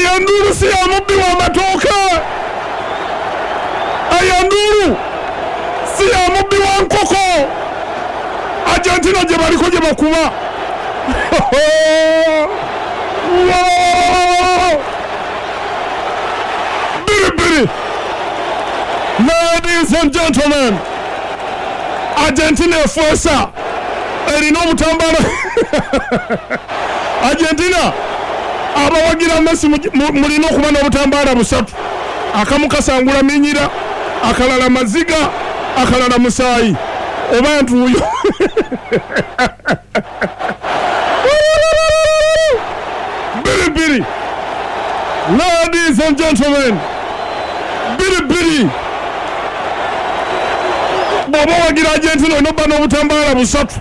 Eyo enduulu si ya mubbi w'amatooke, eyo enduulu si ya mubbi wa nkoko. Argentina gye baliko gye bakuba. 2-2. Ladies and gentlemen, Argentina efuesa erina obutambala. Argentina abawagira Messi mulina okuba n'obutambaala busatu, akamu kasangula minyira, akalala maziga, akalala musaayi oba ntuuyo. 2-2. Ladies and gentlemen, 2-2. Bw'oba owagira Argentina olina obba n'obutambaala busatu,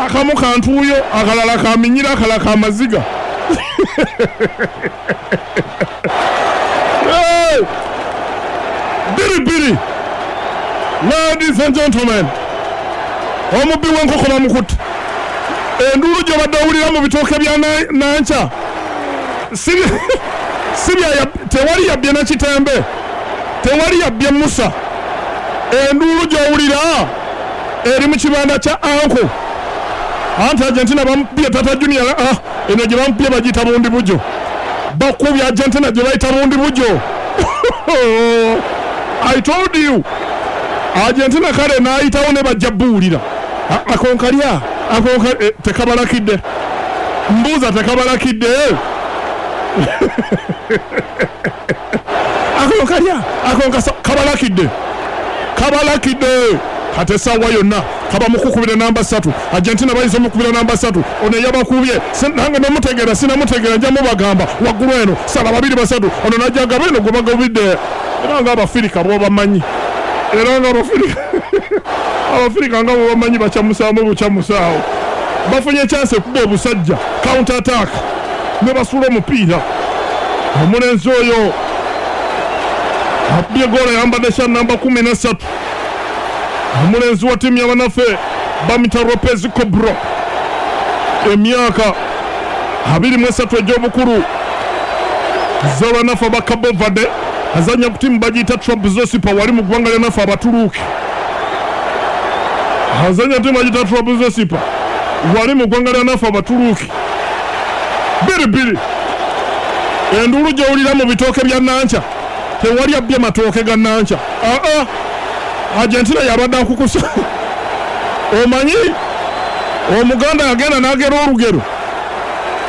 akamu kantuuyo, akalala kaminyira, akalala kamaziga. Hey! 2-2. Ladies and gentlemen, omubbi w'enkoko bamukutte. Enduulu gy'obadde owulira mu bitooke bya Nankya tewali yabbye na Kitembe, tewali yabbye Musa. Enduulu gy'owulira eri mu kibanda kya Anko. Anti Argentina bamukubye Tata Junior, eno gye bamukubye bagiyita bundi bujo. Bakubye Argentina gye bayita bundi bujo. I told you. Argentina kale n'ayitawo ne bajja buwulira. Akonkalya, akonka tekabalakidde. Mbuuza tekabalakidde. Akonkalya, akonkasa kabalakidde. Kabalakidde. Kati essaawa yonna kaba mukukubira namba 3. Argentina bayinza omukubira namba 3. Ono yabakubye nange nomutegeera, sinamutegeera, nja mubagamba waggulu eno sala 2 3. Ono najja gaba eno gwe bagobidde. Era nga Abafirika bw'obamanyi, era nga Abafirika nga bw'obamanyi bakyamusaamu bukyamusaawo. Bafunye chance ekuba obusajja counter attack ne basuula omupiira. Omulenzi oyo akubye goolo ayambadde kya namba 13. Omulenzi wa ttiimu y'abanaffe bamita Lopez Cobro, emyaka 23 egy'obukulu, z'abanafe aba Cabo Verde, azannya ku ttiimu bagiyita Trabzonspor wali mu ggwanga lya naffe Abaturuuki. Azannya ttiimu bagiyita Trabzonspor wali mu ggwanga lya naffe Abaturuuki. 2-2. Enduulu gy'owulira mu bitooke bya Nankya tewali abbye matooke ga Nankya. Argentina yabadde akukusa. Omanyi Omuganda yagenda n'agera olugero